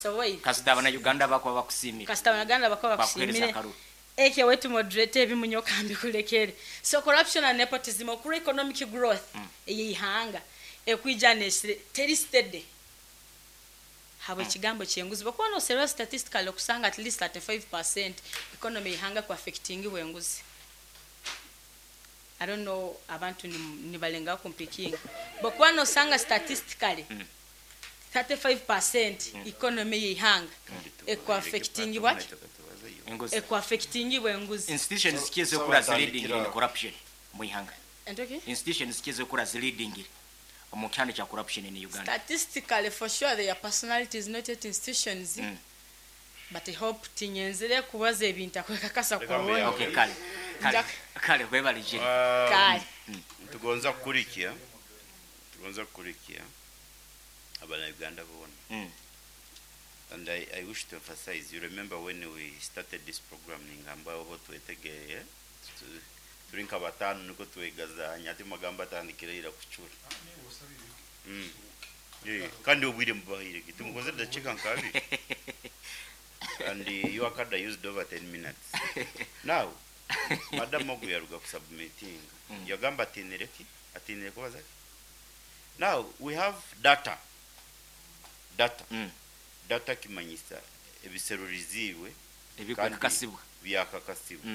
Soboire. Kasita abana-Uganda bakuba bakusiimire. Kasita abana-Uganda bakuba Bakuheereza bakusiimire. akaruru. Ekyo wetu moderator ebimunye okambikulekere. So corruption and nepotism okura economic growth eyeihanga ekwija nesire teri steady habwe ekigambo kyenguzi. Bwokuba noserura statistically okusanga at least 35% economy yeihanga ku affectingibwa enguzi. I don't know abantu nibalengaho kumpikinga. Bwokuba nosanga statistically 35% economy yeihanga ekuaffectingibwa ki? Enguzi. Ekuaffectingibwa enguzi. Institutions ki So ezikura zi leading in batandikira corruption mu ihanga? Entoki? Institutions ki ezikura zi leading omu kyanda kya corruption in Uganda? Statistically for sure their personalities not yet institutions. But I hope tinyenzire kubaza ebintu akwekakasa Reka kurungi. mbe Okay, kale. Kale. Kale webale Jerry. Kale. Tugonza kukulikia tugonza kukulikia abana-Uganda boona. And I wish to emphasize, you remember when we started this program, ningamba obo twetegeye, turi nka batano niko twegazanya, ati magambo atandikira ira kucura. Kandi obwire mubahire, tumukoze dakika nka abiri. And you akada used over 10 minutes. Now, Madam Ogu yaruga kusubmitting. Yagamba atinire ki? Atinire kubaza ki? Now, we have data. Data. Data kimanyisa ebiseruriziibwe Ebikwekakasibwa. Byakakasibwa.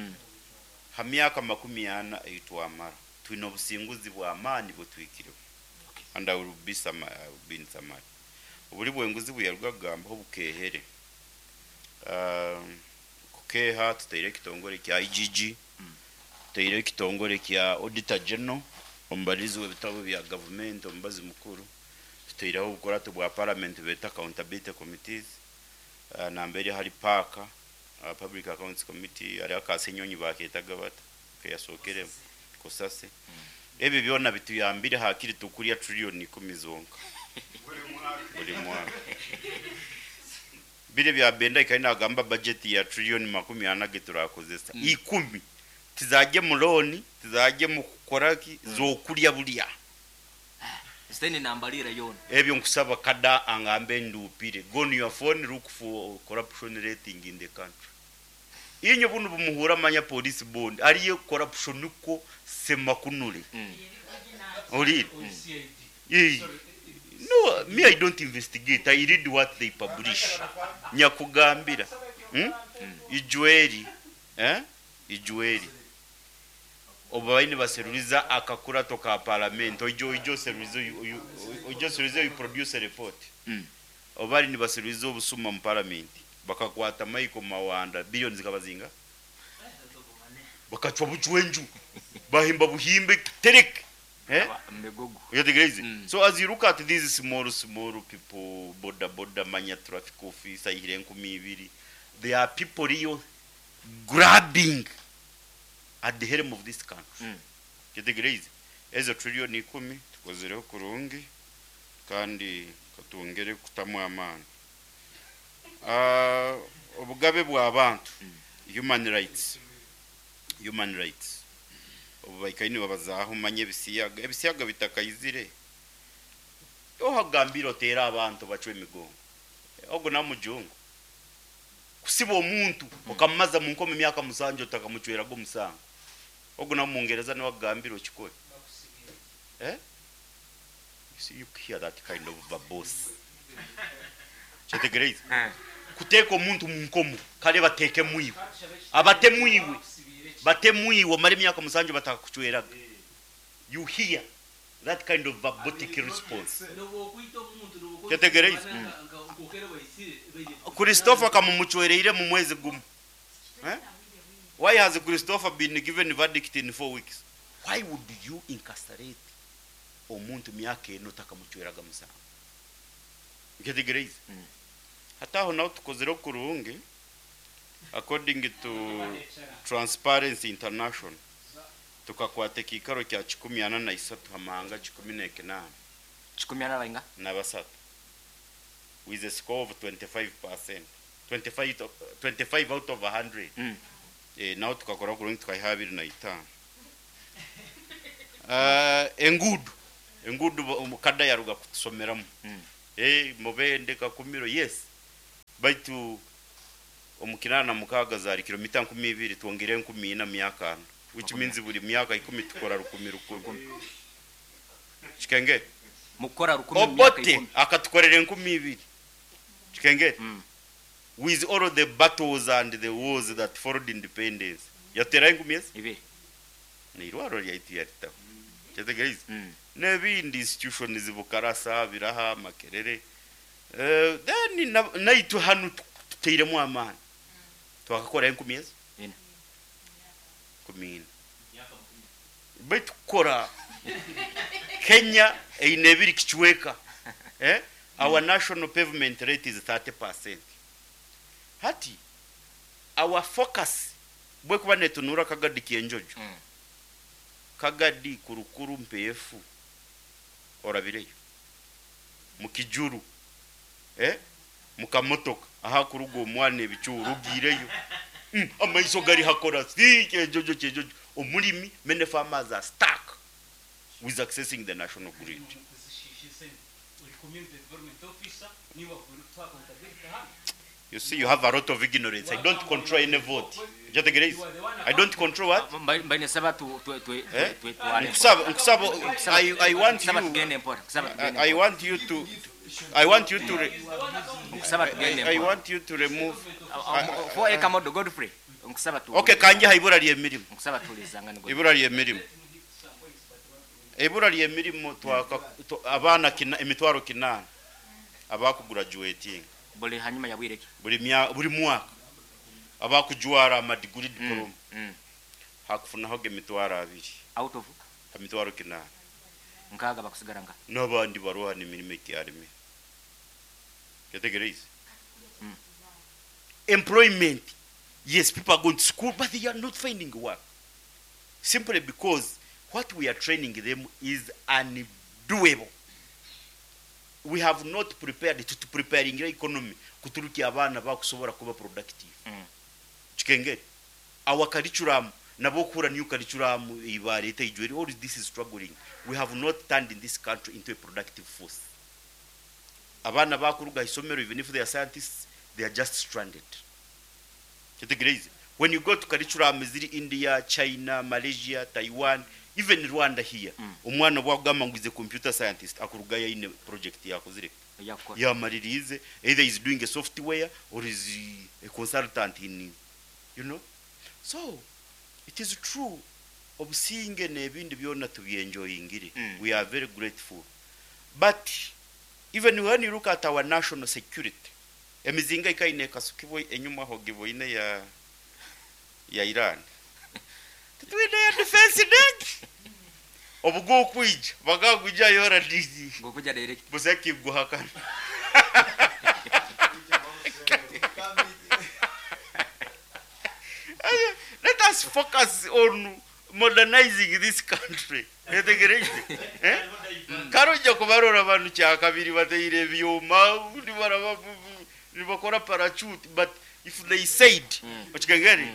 Ha myaka 40 eitwamara twine obusinguzi bw'amaani butwikireho. And I will be some, I will be in summary. Oburi bwenguzi buyaruga kugambaho bukehere. Kukeha tutaire ekitongore kya IGG, tutaire ekitongore kya Auditor General, omubarizi w'ebitabo bya government, omubazi mukuru, tutaireho obukurato bwa parliament beta accountability committees, nambere hari PAC, Public Accounts Committee, hariho aka Ssenyonyi baketaga bata, keyasokeremu, Kosase. Ebi byona bituyambire hakiri tukurya trillion 10 zonka. Buri mwaka. Bire bya benda ikari nagamba budget ya trillion 40 ge turakozesa. 10 tizajye mu loan, tizajye mu kukoraki, zokurya bulya. Siteni nambalira yona. Ebyo nkusaba kada angambe ndupire. Go on your phone, look for corruption rating in the country. Inyo bunu bumuhura manya police bond. Ariyo corruption uko semakunure. Ori. No, me I don't investigate. I read what they publish. Nyakugambira. Ijueri. Ijueri. Obaini baseruriza akakurato ka parliament. Ojo ojo seruriza ojo seruriza you produce a report. Obali ni baseruriza obusuma mu parliament. Bakakwata Michael Mawanda billions zikabazinga. Bakachwa buchwenju. Bahimba buhimbe terek. Mbegogo. You get crazy. So as you look at these small, small people, border, border, manya traffic officer, ihire nkumi ibiri, they are people real grabbing at the helm of this country. Get crazy. Ezo trillion 10 tukozereho kurungi kandi katwongere kutamu amaani. Obugabe bw'abantu, human rights. Human rights. Obu baikaini babazaho manye ebisiyaga, ebisiyaga bitakayizire. Ohagambira otera abantu bacwe emigongo. Ogo na mujungu. Kusiba omuntu okamumaza mu nkoma emyaka 7 otakamucwerago omusango. Ogo na Mungereza niwe agambira okikore. You see, you hear that kind of verbose. Kyetegereze. Kuteeka omuntu mu nkomo kale bateeke mwiwe. Abate mwiwe. Bate mwiwe omare emyaka 7 batakakucweraga. You hear that kind of verbotic response. Kyetegereze. Christopher kamumucwereire mu mwezi gumu. Why has Christopher been given verdict in 4 weeks? Why would you incarcerate omuntu myaka eno takamucweraga musango? Kyetegereze. Hataho naho tukozere kurungi according to Transparency International tukakwata ekikaro kya kikumi ana na isatu hamahanga kikumi n'ekinana. Kikumi ana bainga? Na basatu. With a score of 25%. 25 out of 100. Naho tukakora kurungi tukayiha abiri na itaano. Engudu. Engudu kada yaruga kutusomeramu. Mubende Kakumiro, yes. Baitu omu 86 zaari kilomita 2000 twongeire 4,000 myaka ana which means buri myaka ikumi tukora rukumi rukumi. Kikengeri? Mukukora rukumi mu myaka Obote ikumi. akatukorera 2000. Kikengeri? With all the battles and the wars that followed independence. Yatuteraho enkumi ezi? Ibiri. N'eirwariro ryaitu yaritaho. Kyetegyereize? N'ebindi institutions Bukarasa, Biraha, Makerere. Then naitwe hanu tutairemu amaani. Twakakoraho enkumi ezi? Ina. Enkumi ina. Baitu kukora Kenya eine ebiri kicweka. Our national pavement rate is 30%. Hati our focus bwekuba netunuura Kagadi Kyenjojo, Kagadi Kurukuru Mpeefu orabireyo mukijuru mukamotoka ahakuruga omwana ebicu orugiireyo amaiso gari hakora si Kyenjojo Kyenjojo omurimi many farmers are stuck with accessing the national grid. You see, you have a lot of ignorance. I don't control any vote. Kyategereize? I don't control what? Mbaire nsaba tu tu tu Eh? tu tware. Nkusaba, nkusaba, I want Nkusaba you, tugende mpora. Nkusaba tugende. I want you to, I want you to, re, Nkusaba tugende I mpora. want you to remove. For eka modo Godfrey. Nkusaba tu. Okay, kanje ha ibura ly'emirimu. Nkusaba tulizanga ni Godfrey. Ibura ly'emirimu. Ibura ly'emirimu twaka abaana kina, emitwaro 8 abakugraduating. Buli hanyuma ya bwire ki? Buli mya, buli mwaka abakujwara amadiguri diploma. Hakufunaho emitwaro 2. Out of emitwaro 8. Nkaga bakusigara nga. N'abandi baroha n'emirimo ekyarime. Kyetegereize? Employment. Yes, people are going to school, but they are not finding work. Simply because what we are training them is undoable. We have not prepared to preparing the economy kuturukia abaana bakusobora kuba productive. Kikengeri. Our curriculum, nabokura new curriculum ibareta ijweri, all this is struggling. We have not turned in this country into a productive force. Abaana bakuruga isomero, even if they are scientists, they are just stranded. Kyetegereze. When you go to curriculum ziri India, China, Malaysia, Taiwan, even Rwanda here, omwana bwagamba ngu is a computer scientist, akuruga yaine project yakozire. Yakora. Yamaririze, either is doing a software or is a consultant in, you know. So, it is true, obusinge n'ebindi byona tubyenjoyingire. We are very grateful. But even when you look at our national security, emizinga ikaine kasukibwe enyuma aho giboine ya Iran. Tutwine ya defense deck. Obugo kwija bagagwija yora dizi. Ngokuja direct. Buseki guhakana. Let us focus on modernizing this country. Etegereize. Karoja kubarora abantu kyakabiri bateire ebyoma, nibaraba nibakora parachute, but if they said, okikengeri,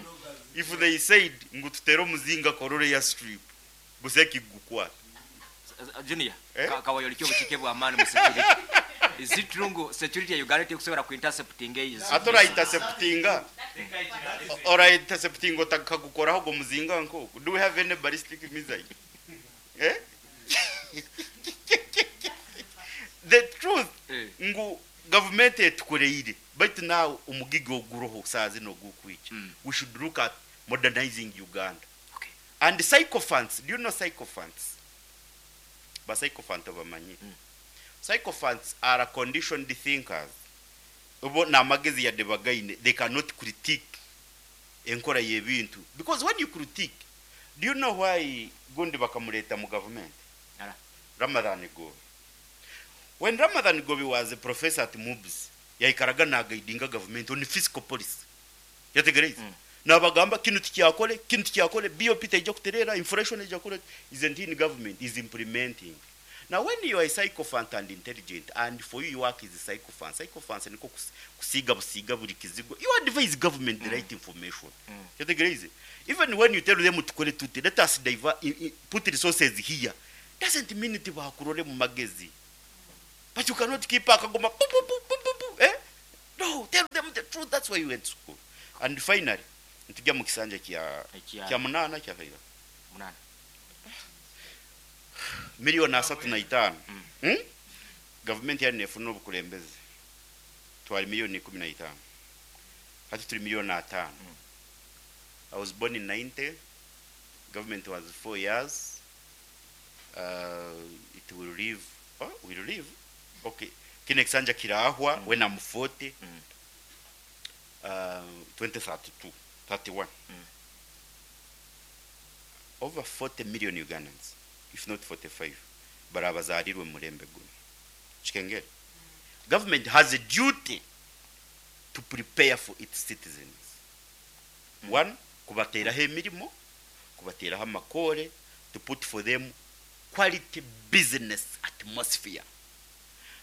if they said ngu tutere omuzinga korore ya strip, buseki gukwata. Junior, kawayo likyo buchike bwa amani mu security. Is it true ngu security ya Uganda tekusobora ku intercepting eyi? Atora interceptinga. Ora intercepting otakagukoraho go muzinga nko. Do we have any ballistic missile? The truth ngu government etukoreire, but now omugigo oguroho sazi no gukwicha. We should look at modernizing Uganda. Okay. And sycophants, do you know sycophants? Ba sycophant bamanyi. Sycophants are conditioned thinkers. Obo na magezi ya debagaine, they cannot critique enkora y'ebintu. Because when you critique, do you know why gundi bakamuleta mu government? Ara. Ramathan Ggoobi. When Ramathan Ggoobi was a professor at MUBS, yaikaraga na guidinga government on fiscal policy. Yategereza. Nabagamba kinu tikyakole, kinu tikyakole, BOP teija kuterera, inflation eija kure, isn't in government, is implementing. Now when you are a sycophant and intelligent, and for you your work is a sycophant, sycophant niko kusiga busiga buri kizigo, you advise government the right information. Yategereza. Even when you tell them to kore tuti, let us divert, put resources here, doesn't mean it bakurore mu magezi. But you cannot keep akagoma pu, pu, pu, pu, pu, pu, No, tell them truth, that's why you went to school. And finally, nitujya mu kisanja kya Ekya- kya munaana kya kaira Munana. 35,000,000. Gavumenti yari nefuna obukulembeze twali 15 million, hati turi 5 million. I was born in 90. Government was 4 years. It will live, oh, will live, okay, kine kisanja kirahwa when I'm 40, 2032, 31. Over 40 million Ugandans, if not 45, barabazarirwe mu murembe guno. Kikengere, government has a duty to prepare for its citizens. One, kubateraho emirimo, kubateraho amakore, to put for them quality business atmosphere.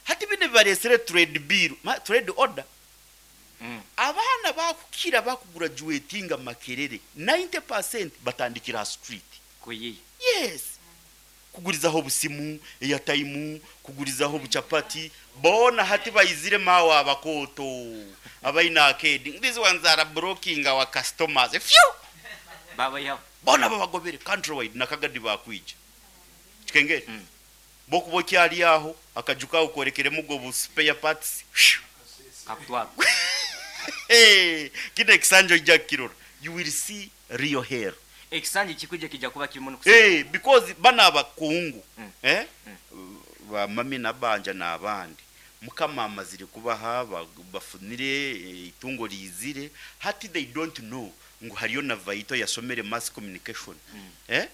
Hati bino bibaresere trade bill, trade order. Abaana bakukira bakugraduatinga Makerere, 90% batandikira ha street. Kuyiya. Yes, kugurizaho obusimu, airtime, kugurizaho obuchapati. Bona hati bayizire mawe abakoto abaina arcade. These ones are blocking our customers. Phew! Babayihaho. Bona babagobere countrywide nakagadi bakwija. Kikengere, bokuba okyali aho akaju kawe korekeremu ubwo bu spare parts. Phew! Kakutwara. Hey, kino ekisanja ojja kukirora, you will see real hell. Ekisanja kikujja kijja kuba kirimu nokusi. Hey, because bano abakungu, eh? Bamami nabanja n'abandi, mukama amazire kubaha, bafunire itungo rizire. Hati they don't know ngu hariyo na vaito yasomere mass communication, eh?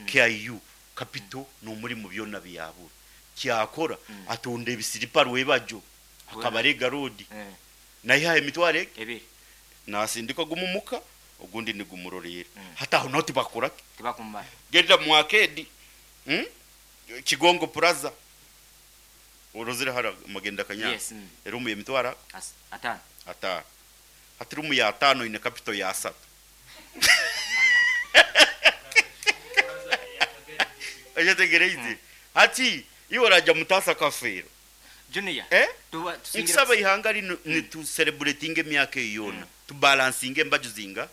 KIU capital n'omuri mu byona byabura kyakora, atunda ebisiripa rwebajo akabarega road. Naye emitwaro Ebiri. Nasindika gumumuka ogundi nigumurorera. Hati aho naho tibakora. Tibakumara. Genda mu arcade, Kigongo Plaza, orozire hara magenda kanya. Yes. Erumu yemitwara 5. 5. Hati rumu ya 5 ine capital ya 3. Ekyetegereize, hati iwe orajya mutasa kafeero. Junior. Eh? Tuba tusingira. Nkusaba ihanga rino nitucelebratinga emyaka eyo yona, tubalansinga embaju zinga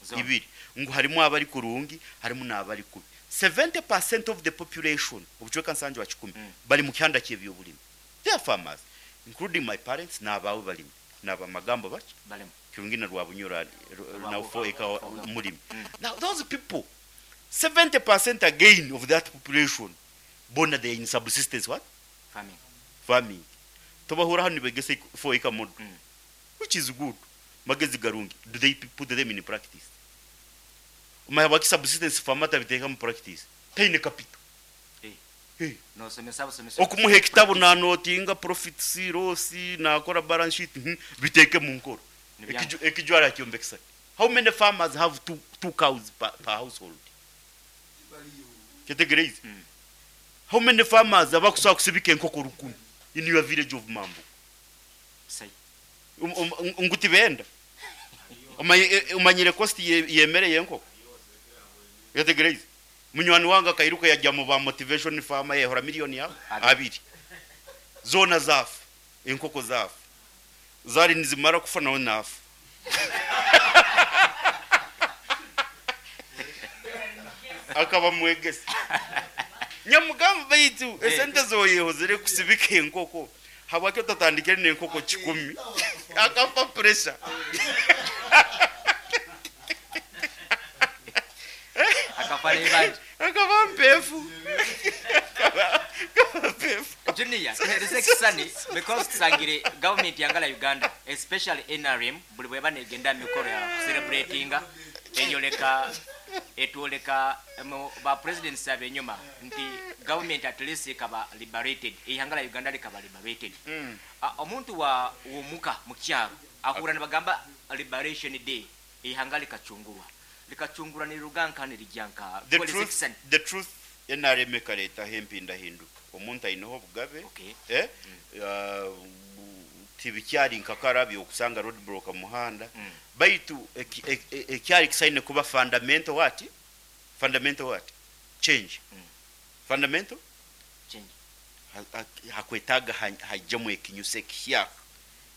Zona. ibiri, ngu harimu abari kurungi, harimu n'abari kubi. 70% of the population, obucweka 70, bari mu kyanda ky'ebyobulimi. They are farmers, including my parents n'abawe balimi n'abamagambo baki. Balemu. Kirungi na Rwabunyura na 4 acre Four. mulimi. Now those people, 70% again of that population, bona they are in subsistence what? Farming. Farming. Tobahura hano nibegese 4 acre model, which is good, magezi garungi. Do they put them in practice? Umaya subsistence farmer tabiteeka mu practice, taine capital. Hey. Nosomesa busomesa. Okumuha ekitabo nanotinga profits, loss, nakora balance sheet, biteeke mu nkoro. Nibyanga. Ekijwara kyombekesa. How many farmers have two cows per household? Kyetegereize. How many farmers abakusobola kusibika enkoko 1,000 in your village of Mambo? Sai. Nguti benda umanyire cost yemere yenkoko. Yetegereize, munywani wange akairuka yajya mu ba motivation farmer, yehora miliyoni yawe Abiri. Abiri zona zafa, enkoko zafa, zari nizimara kufa nawe nafa. Akaba mwegese nyamugamba, baitu esente zoyehozere kusibika enkoko, habwaki otatandikire n'enkoko 1,000? Akafa pressure. Akafa n'ebanja. Akaba mpefu. Akaba mpefu. Junior, tuhereze ekisani because tusangire government yangala Uganda, especially NRM, buli bweba negenda mikoro ya celebratinga eyoleka etwoleka mu ba presidents abenyuma nti government at least ekaba liberated, ihanga la Uganda likaba liberated. Ah, omuntu wa womuka mu kyaro ahura nibagamba Liberation Day, ihanga likacungurwa, likacungurwa niruganka nirijyanka. The Tukoleze truth, ekisani. the truth, NRM ekareetaho empindahinduka, omuntu aineho obugabe. Eh? Tibikyari nkakarabyo okusanga roadblock mu muhanda. Baitu ekyari kisaine kuba fundamental what? Fundamental what? Change. Fundamental Change. Hakwetaaga hajjemu ekinyusi ekihyaka.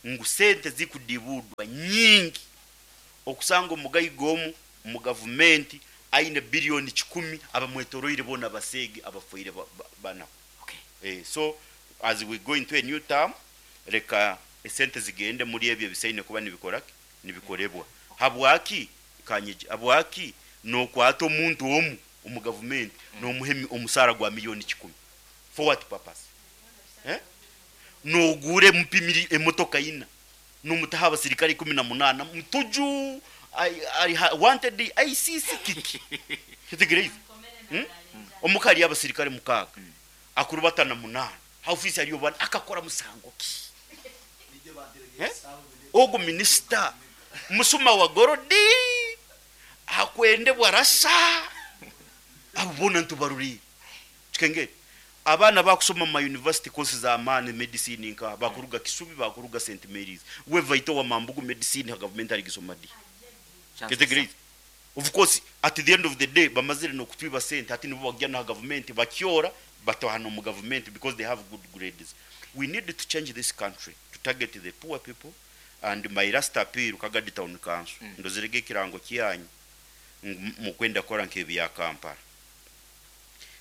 ngu sente zikudibuudwa nyingi okusanga omugaiga omu omu gavumenti aine biliyoni kikumi abamwetoroire boona baseege abafoire banaku. Okay. So as we go into a new term, reka esente zigende muri ebyo ebisaine kuba nibikoraki? Nibikorebwa. Habwaki? Kanyegye, habwaki nokwata omuntu omu omu gavumenti nomuha omusaara gwa miliyoni kikumi? For what purpose? Eh? Noguura MP emotoka ina, nomutaho abasirikare 18, mutuju ari wanted ICC kiki? Kitegereize? Omuka hariyo abasirikare 6, akurubata na 8, ha ofiisi hariyo bana, akakora musango ki? Eh? Ogu minisita musuma wa gorodi akwendebwa rasa, abo boona nitubaruriire. Kikengeri abaana bakusoma mu ma university courses za maani medicine nka bakuruga Kisubi, bakuruga St Mary's, we vaito wa Mambugu medicine ha government arigisoma di? Kitegereize? Of course at the end of the day bamazire nokutwiba sente, hati nibo bakugya naha government bakyora batahana omu government because they have good grades. We need to change this country to target the poor people. And my last appeal, Kagadi Town Council, ndozirege ekirango kyanyu ngu mukwenda kukora nk'ebya Kampala.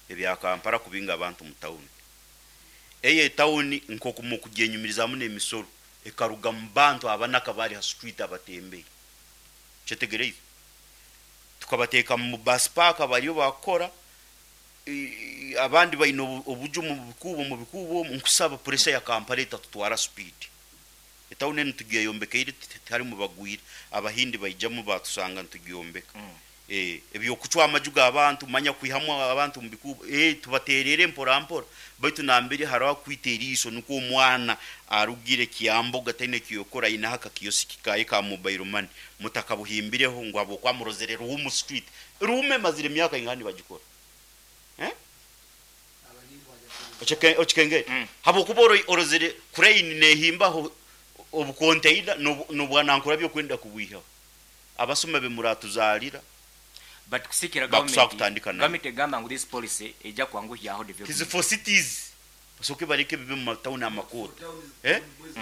Ebya Kampala kubinga abantu mu town. Eyo etawuni nk'oku mukugyenyumirizamu n'emisoro ekaruga mu bantu abanaka bari ha street abatembei. Kyetegereize? Tukabateeka mu bus park bariyo bakukora, abandi baine obuju mu bikuubo, mu bikuubo omu, nkusaba pressure ya Kampala etatutwara speed. Etawuni enu tugyeyombeka tiharimu bagwire, Abahindi baijamu batusanga nitugyombeka. Ebyokucwa amaju g'abantu, manya kwihamu abantu mu bikuubo, tubaterere mpora mpora, baitu nambere hariho akwita eriisho nikwo omwana arugire Kyambogo ataine ekiyokora, ayineho akakiyosiki kaye ka mobile money, mutakabuhimbireho ngu habwokuba murozere Ruhumu street. Ruhumu emazire emyaka ingaha nibagikora? Okikengere? Habwokuba orozere crane nehimbaho obukonteina n'obwanankura byokwenda kubwihaho. Abasuma be muratuzarira But kusikira bakusobola government, kutandika nayo. Government egamba ngu this policy eija kwanguhyaho Tizi development. for cities basoke bareke bibe mu matawuni amakooto.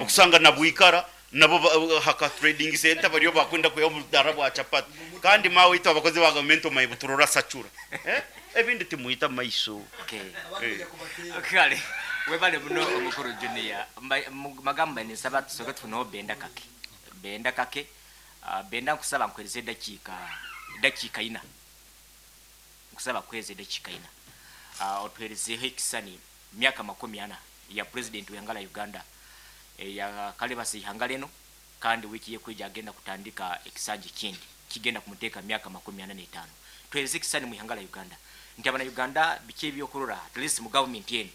Okusanga na Bwikara nabo haka trading center bariyo bakwenda kwiha obudara bwa chapati. Kandi mawe itwe abakozi ba government omaye buturora sachura. Ebindi timuita maiso. Okay. Kale webale muno omukuru Junior. Magamba nisaba tusoke tufuneho Benda Kake. Benda Kake. Benda nkusaba nkuhereze dakiika ina. Nkusaba kuhereza dakiika ina. Otuherezeho ekisani myaka 40 ya president w'ihanga la Uganda. Ya kalebasa ihanga leno kandi wiki yekwija agenda kutandika ekisanja kindi kigenda kumuteka myaka 45. Tuhereze ekisani mu ihanga la Uganda. Nti abana Uganda biki ebyokurora at least mu government yenu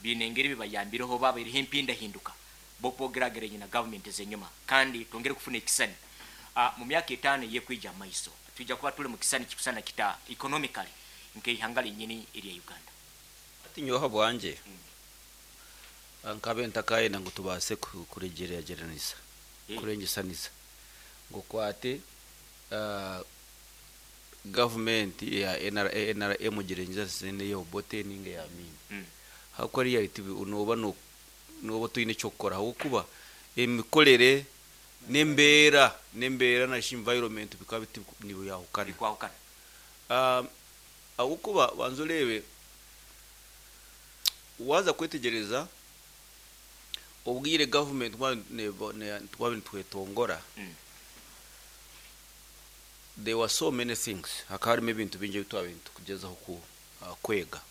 bine engeri bibayambireho baba iriho empinda hinduka bokwogeragera na government zenyuma kandi twongere kufuna ekisani. Mu myaka 5 yekwija maiso tujja kuba tuli mu kisani kikusana kita economically nke ihanga linyini erya Uganda. Ati nyoha bwanje nkabe ntakaye nangu tubase kuregereranisa kurengesanisa ngo kwate government ya NRA NRA mugerengeza sene yo bote ninge ya mini. Hako reality unoba no noba tuyine cyokora aho kuba emikolere nembera na environment bikaba nibo yahukana kwahukana. Aho kuba banzurebe waza kwetegereza obwire government twetongora. There were so many things hakari ebintu bingi bitwabintu kugezaho ku kwega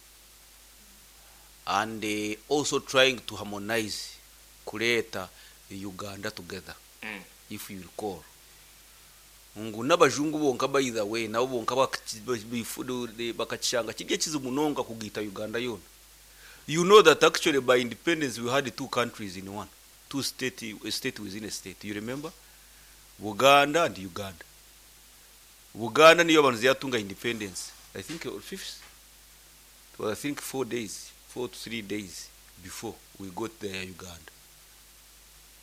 and also trying to harmonize kureta Uganda together. If you recall ngu n'abajungu bonka by the way nabo bonka bakachanga kijye kizimunonga kugita Uganda yona. You know that actually by independence we had two countries in one, two state, a state within a state. You remember? Buganda and Uganda. Buganda niyo abantu yatunga independence. I think fifth. Well, I think 4 days, 4 to 3 days before we got there Uganda.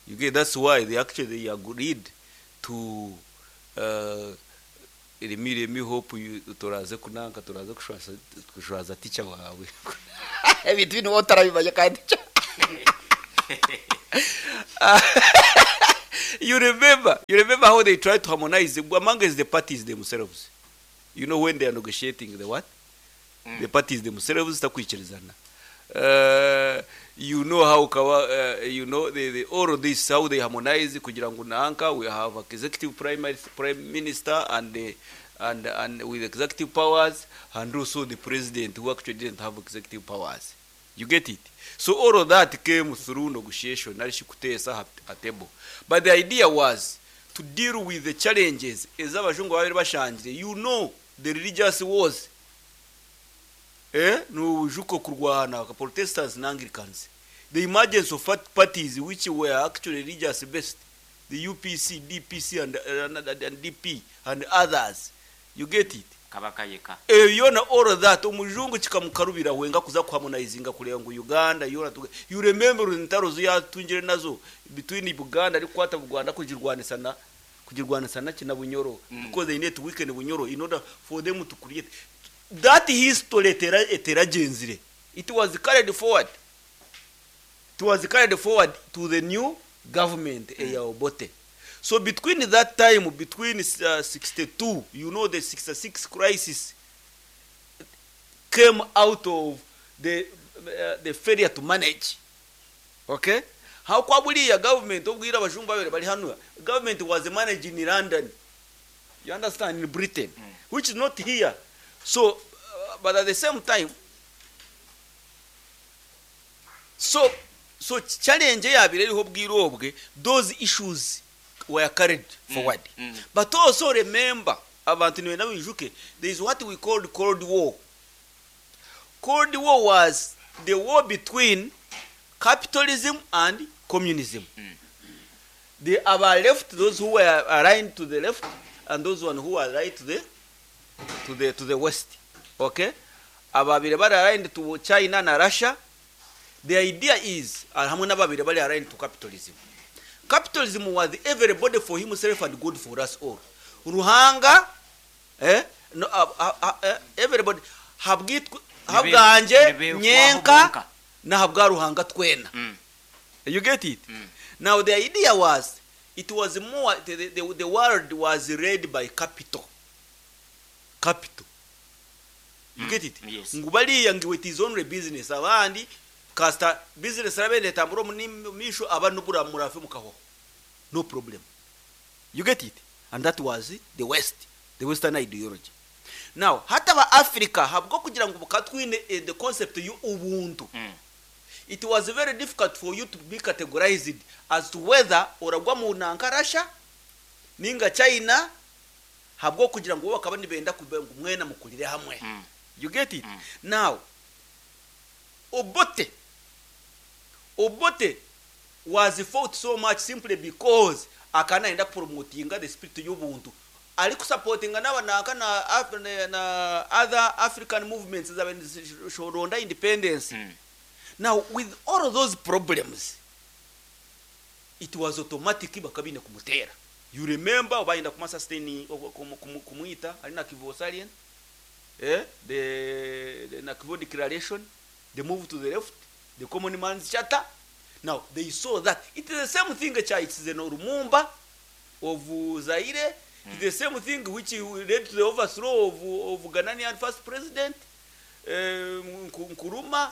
You get, that's why they actually agreed to remi hope you turaze kunanka turaze kushwaza teacher wawe. Ebintu bino otarabimanya kandi teacher. You remember how they tried to harmonize among the parties themselves. You know when they are negotiating the what? The parties themselves takwikirizana. You know how kawa, you know the all of this, how they harmonize kugira ngo nanka we have executive prime minister and the, and with executive powers, and also the president who actually didn't have executive powers. You get it? So all of that came through negotiation, narishi kuteesa a table. But the idea was to deal with the challenges ez'abajungu babiri bashangire. You know the religious wars. Nujuko kurwana Protestants and Anglicans. The emergence of parties which were actually religious based, the UPC, DPC and DP and others. You get it? Kabaka yeka. Yona all of that omujungu kikamukarubira wenga kuza kuharmonizinga kureba ngu Uganda yona you remember entaro ziyatungire nazo between Buganda ari kwata Buganda kugirwanisa na kina Bunyoro, because they need to weaken Bunyoro in order for them to create that history eteragenzire. It was carried forward. It was carried forward to the new government ya Obote. So between that time, between 62, you know the 66 crisis came out of the failure to manage. Okay? How kwabuliya government obwira abajungu babiri bari hano, government was managing in London. You understand, in Britain, which is not here. So, but at the same time, so challenge yabire iriho bwirobwe, those issues were carried forward. But also remember, abantu niwe nabijuke, there is what we called Cold War. Cold War was the war between capitalism and communism. The our left, those who were aligned to the left, and those one who were right to the west. Okay? Ababire bari aligned to China na Russia. The idea is, hamwe n'ababire bari aligned to capitalism. Capitalism was everybody for himself and good for us all. Ruhanga, no, everybody habwitwa habwanje nyenka na habwa Ruhanga twena. You get it? Now the idea was, it was more the world was led by capital. Capital. You get it? Yes. Ngubaliya ngiwe it is only business abandi kasta business rabende tamburo misho abantu bura murafe mukaho. No problem. You get it? And that was the West, the Western ideology. Now, hata ba Africa habwo kugira ngo bukatwine the concept yu ubuntu. It was very difficult for you to be categorized as to whether uragwa mu nanka Russia ninga China habwo kugira ngo bakaba nibenda kubenga mwena mukulire hamwe. You get it? Now, Obote was fought so much simply because akana enda promotinga the spirit y'ubuntu. Ali kusupportinga n'abanaka na other African movements zabenze independence. Now, with all of those problems, it was automatic bakabine kumutera. You remember obainda kumasustaining kumuita ali na Kivu Salient, the Nakivubo declaration, the move to the left, the common man's charter. Now they saw that it is the same thing cha it's the Lumumba of Zaire. It's the same thing which led to the overthrow of Ghanaian first president Nkrumah,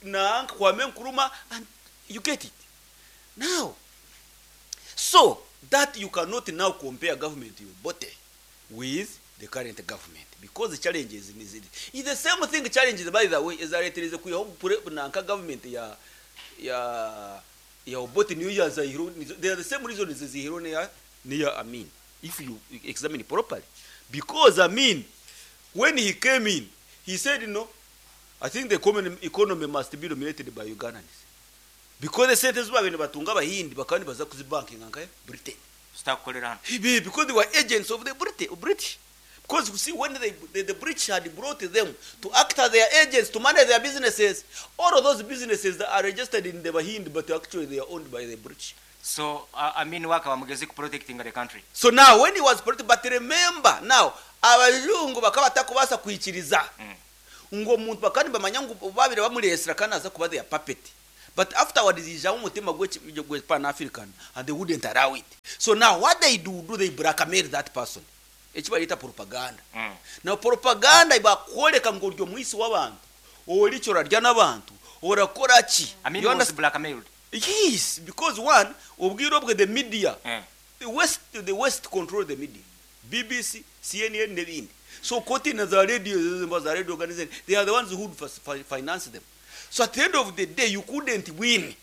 na Kwame Nkrumah, and you get it. Now, so that you cannot now compare government you Obote with the current government, because the challenges is it. It's the same thing challenges, by the way, is that it is a nanka government ya Obote New Year Zaire. They are the same reasons as Zahiro near Amin, if you examine it properly. Because Amin, when he came in, he said, no, I think the common economy must be dominated by Ugandans. Because the sentence were batunga bahindi bakandi baza kuzibanking nka Britain. Start calling on. Because they were agents of the British. Because you see, when the British had brought them to act as their agents, to manage their businesses, all of those businesses that are registered in the Bahindi, but actually they are owned by the British. So, Amin waka wamugezi protecting the country. So now, when he was protected, but remember, now, abazungu bakaba batakubasa kuikiriza. Ngo muntu bakandi bamanya ngo babire bamuresera kandi aza kuba their puppet. But afterwards ijaho omutima gwe Pan African and they wouldn't allow it. So now what they do, do they blackmail that person. Eki bareta propaganda. Now propaganda ibakworeka ngu ori omwisi w'abantu, ori ki orarya n'abantu, orakora ki. Amin You was understand? blackmailed. Yes, because one, obwire obwe the media, the West control the media. BBC, CNN n'ebindi. So koti na za radio, za radio organization, they are the ones who finance them. So at the end of the day, you couldn't win.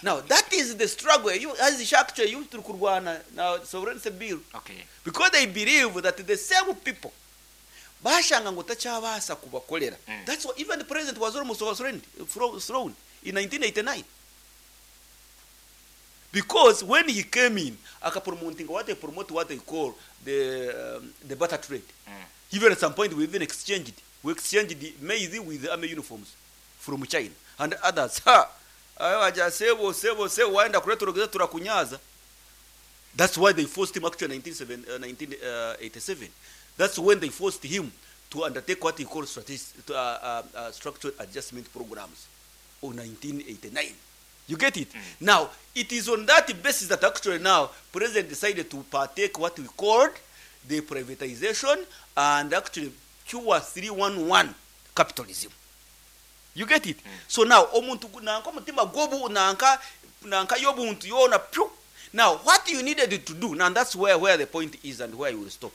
Now, that is the struggle. You, as actually, you turi kurwana na sovereignty bill. Because they believe that the same people, bashanga ngo tachabaasa kubakolera. That's why even the president was almost overthrown in 1989. Because when he came in, akapromoting what they promote, what they call the barter trade. Even at some point, we even exchanged. We exchanged the maize with the army uniforms from China and others. Ha! Ayo sebo sebo sebo waenda kuleta turogeza turakunyaza. That's why they forced him actually in 1987. That's when they forced him to undertake what he called structural adjustment programs of 1989. You get it? Now, it is on that basis that actually now president decided to partake what we called the privatization and actually cure 311 capitalism. You get it? So now, omuntu nanka omutima gwobu nanka nanka yobuntu yona pyu. Now, what you needed to do, now that's where the point is and where you will stop.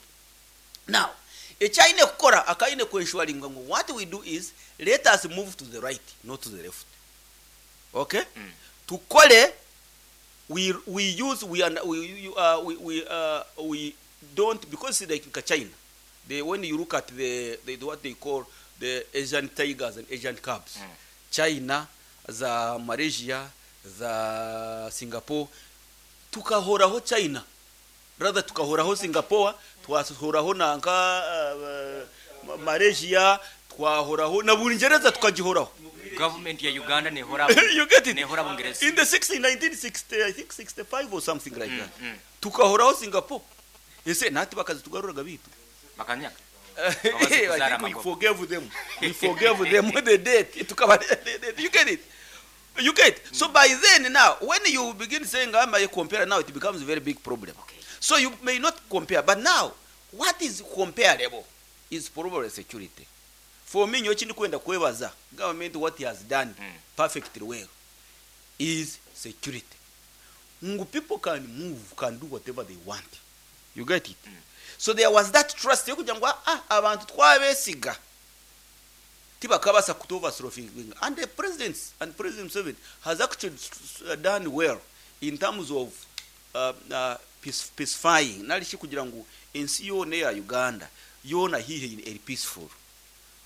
Now, echaine kukora akaine kwenshuaringa ngu what we do is let us move to the right, not to the left. Okay? Tukole we use we we we we, we don't, because like in China, they, when you look at the what they call the Asian tigers and Asian cubs, China, the Malaysia, the Singapore, tukahoraho China, rather tukahoraho Singapore, twahoraho nanka Malaysia, twahoraho na Bungereza tukagihoraho. Government ya Uganda nehora You get it? Nehora Bungereza. In the 1960, I think 65 or something like that. Tukahoraho Singapore. Ese nati bakazitugaruraga bitu. Bakanyaka. I think we forgave them. We forgave them the debt. You get it? You get it? So by then now, when you begin saying, I may compare now, it becomes a very big problem. Okay. So you may not compare. But now, what is comparable is probably security. For me, nyochi ndikwenda kwebaza government what he has done perfectly well is security. Ngu people can move, can do whatever they want. You get it? So there was that trust yokugira ngu abantu twabesiga tibakabasa kutoverthrowing. And the president and President Museveni has actually done well in terms of peacefying. Nalishi kugira ngu ensi yona ya Uganda yona hihe eri peaceful.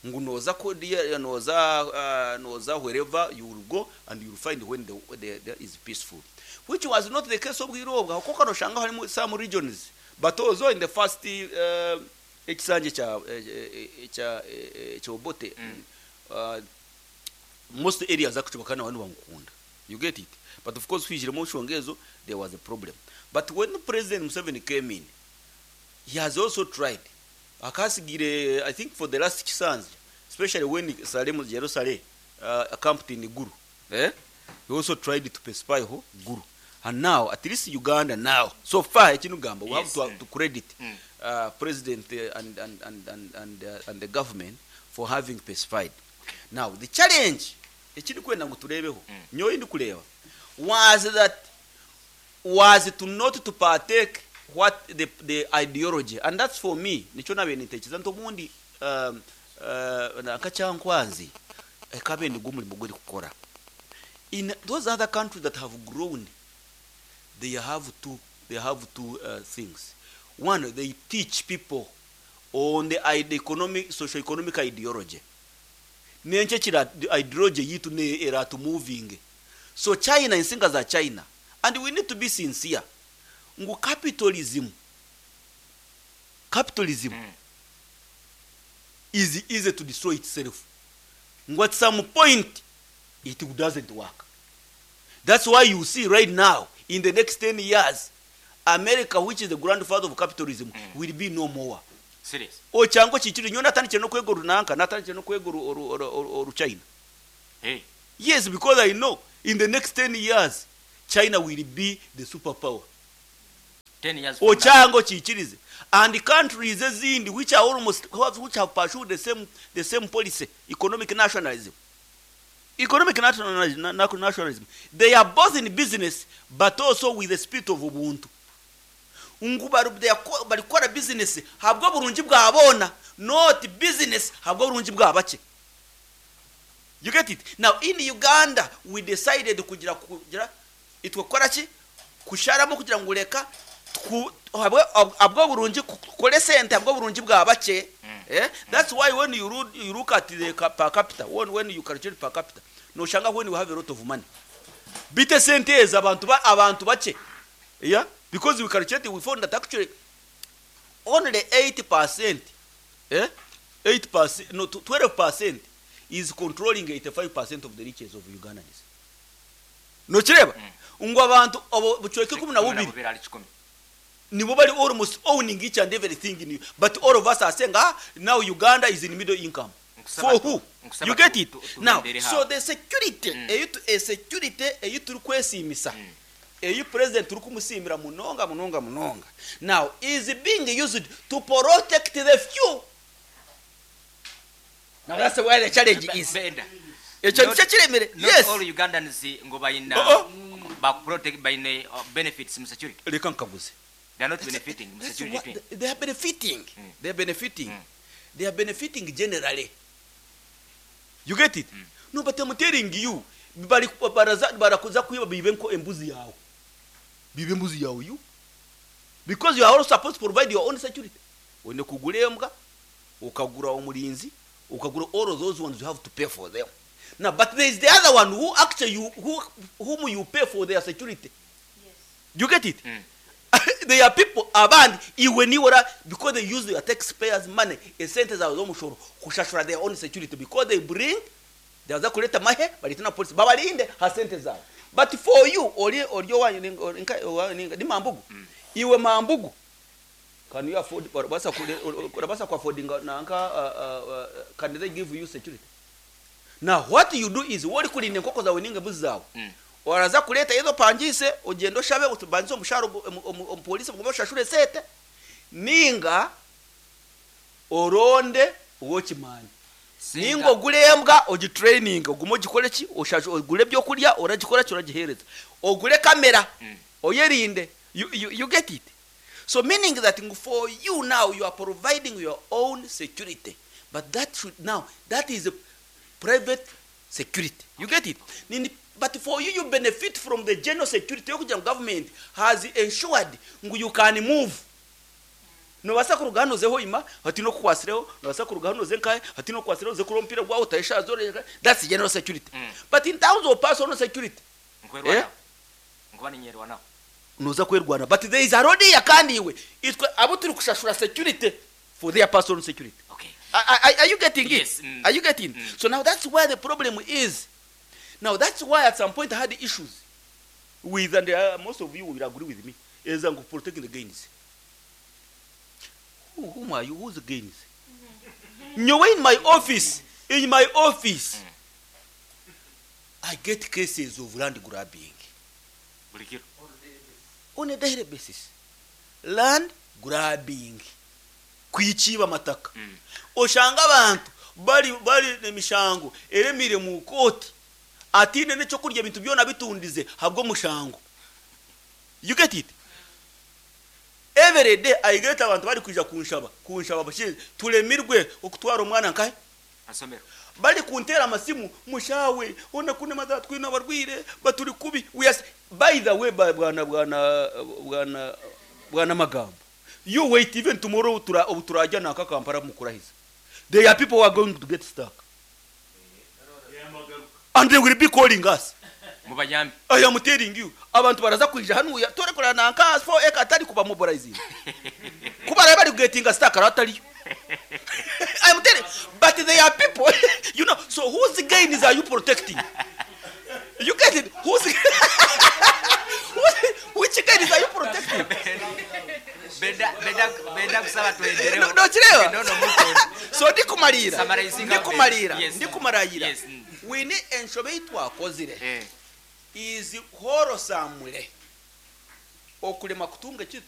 Ngu noza kodia noza noza wherever you will go and you will find when the is peaceful, which was not the case of Bwirobwa kuko kano shanga harimo some regions, but also in the first ekisanje cha cha cha Obote, most areas actually bakana bantu bamukunda. You get it? But of course kwijiremo shongezo there was a problem. But when President Museveni came in, he has also tried. Akasigire, I think for the last 6 especially when Salem Jerusalem camped in Guru, he also tried to pacify Guru. And now, at least Uganda now, so far, Echinugamba, we have to credit President and the government for having pacified. Now, the challenge, was that was to not to partake what the ideology, and that's for me nicho nabe nitekereza ntobundi nakacyankwanzi ekabe ndigumuri muguri kukora. In those other countries that have grown, they have two things. One, they teach people on the economic, socio-economic ideology. Nenche chira ideology yitu ne era to moving. So China, insinga za China, and we need to be sincere. Ngu capitalism is easy to destroy itself. Ngu at some point it doesn't work. That's why you see right now, in the next 10 years, America, which is the grandfather of capitalism, will be no more. Serious. O chango chichiri nyo natandikire no kwega runanka, natandikire no kwega oru China. Hey. Yes, because I know In the next 10 years, China will be the superpower. 10 years from now. Okyange okiikirize. And countries ezindi which are almost, which have pursued the same policy, economic nationalism. Economic nationalism. They are both in business but also with the spirit of Ubuntu. Ngu barikukora business habwo burungi bwabona, not business habwo burungi bwabake. You get it? Now in Uganda we decided kugira itwe kukora ki, kusharamo kugira ngu reka habwo burungi kukore sente habwo burungi bwabake. Eh? That's why when you look at the per capita, when you calculate per capita, noshanga when you have a lot of money, bite sente ezi abantu bake. Yeah, because we calculate, we found that actually only 8%, eh, 8%, no, 12% is controlling 85% of the riches of Ugandans. Nokireba ngo abantu abo bucweke 12 12 ali 10. Nibo bari almost owning each and everything in you. But all of us are saying, ah, now Uganda is in middle income. Nkusaba For who? Nkusaba You get it? Now, tugendere so hawo. the security, eyi security eyi turi kwesimisa, eyi president turi kumusimira munonga munonga munonga, now is being used to protect the few. Now that's where the challenge is. Benda. Ekyo Not- nikyo kiremere. Not Yes. all Ugandans ngo bayina Oh, bakuprotect, bayina benefits mu security. Reka nkaguze. They are not benefiting mu That's security. what they are benefiting. They are benefiting. They are benefiting generally. You get it? No, but I'm telling you, bari baraza barakuza kwiba bibe nko embuzi yawe. Bibe embuzi yawe you. Because you are also supposed to provide your own security. Wende kugura embwa, ukagura umurinzi, ukagura all of those ones, you have to pay for them. Now, but there is the other one who actually you, who whom you pay for their security. You get it? There are people abandi iwe niwora because they use their taxpayers' money, esente zawe z'omushoro, kushashura their own security because they bring, baza kuleta mahe, baleta na police babalinde ha sente zawe. But for you, ori owanyu ni mambugu, iwe mambugu, can you afford, basa basa ku affordinga nanka, can they give you security? Now what you do is wori kulinda enkoko zawe ninga embuzi zawe, oraza kuleta izo pangise, ogenda oshabe utubanze omushahara, omupolisi mugume oshashure sente, ninga oronde owokimanya, ninga ogure embwa, ogitraining, ogume ogikore ki, ogure ebyokurya, oragikora ki, oragihereza, ogure kamera, oyerinde. You get it? So meaning that for you now, you are providing your own security, but that should, now that is a private security. You get it? But for you, you benefit from the general security yokugira ngo government has ensured ngu you can move. Nobasa kuruga hano uzeho ima hati no kukwasireho, nobasa kuruga hano uze nkahe hati no kukwasireho, uze kurora omupira gwawe utayeshazo. That's general security. But in terms of personal security, Nkwerwanaho, nkuba ninyerwanaho. Noza kwerwana, but there is a road here kandi iwe itwe abo turi kushashura security for their personal security. Okay. Are you getting it? Yes. Are you getting? So now that's where the problem is. Now that's why at some point I had issues with, and most of you will agree with me, is protecting the gains. Whom are you? Who's the gains? Nyowe in my office, I get cases of land grabbing Buli kiro. On a daily basis. Land grabbing. Kwikiba amataka. Oshanga abantu bari emishango eremire mu kooti, atine n'ekyokurya, ebintu byona bitundize habwo mushango. You get it? Every day I get abantu bari kwija kunshaba bashize turemirwe okutwara omwana nkahe Asomero. Bari kuntera amasimu, mushawe ona kune maza twina abarwire baturi kubi. We are, by the way, bwana magambo, you wait, even tomorrow tura ubu turajya naka Kampala mukurahiza. There are people who are going to get stuck and they will be calling us. Mubayambi. I am telling you, abantu baraza kwija hano tore kurana nanka 4 acre atari kuba mobilizing kuba bari getting stuck aratariyo. I am telling, but there are people. So whose gains are you protecting? You get it? Which gains are you protecting? Benda kusaba tuendereho. No, no, No, no, muko. So ndikumalira, Summarizing ndikumalira, Yes. ndikumarayira. Yes. Wine enshobe ei twakozire Eh. Is wholesamule okulema kutunga ekintu.